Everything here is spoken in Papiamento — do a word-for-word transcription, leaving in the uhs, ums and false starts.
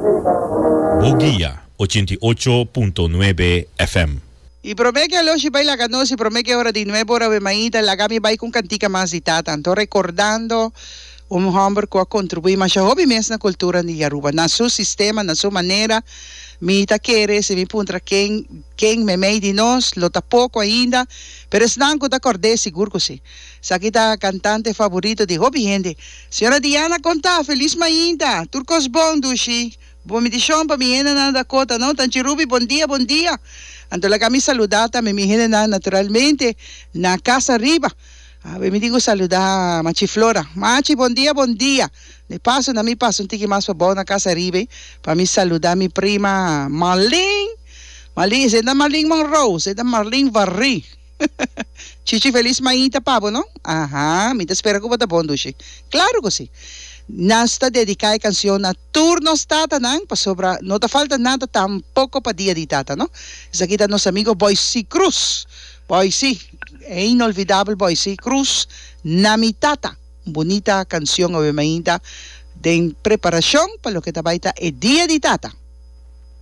Boguia ochenta i ocho punto nuebe F M. I promé ku Aloshi bai laga nos i promé ku e ora di nuebe ora awe mainta, laga mi bai ku un kantika mas di tata. Anto rekordando un hòmber ku a kontribuí masha hopi mes na kultura di Aruba, na su sistema, na su manera. Mi ta kere si mi puntra ken ken meimei di nos, lo ta poko ainda, pero esnan ku ta kòrd'é sigur ku si. Esaki ta kantante faborito di hopi hende. Señora Diana konta, Felis mainta! Tur kos bon, dushi. Bon bendishon pa mi hendenan Dakota no Tanchi Ruby bon dia bon dia anto laga mi saluda tambe mi hendenan naturalmente na casa ariba awe mi tin ku saluda Machi Flora Machi bon dia bon dia de paso na mi pasa un tiki mas pabou na casa ariba pa mi saluda mi prima Marlene Marlene esei ta Marlene Monroe esei ta Marlene Varri. Chichi felis mainta pa bo no. Aha, mi ta spera ku bo ta bon dushi. Klaro ku si. Nos ta dediká e kansion na tur nos tatanan pasobra no ta falta nada tampoko pa dia di tata no. Esaki ta nos amigo Boysi Cruz. Boysi, e inolvidabel Boysi Cruz, Na mi tata. Un bunita kansion awe mainta den preparashon pa loke ta bai ta e dia di tata.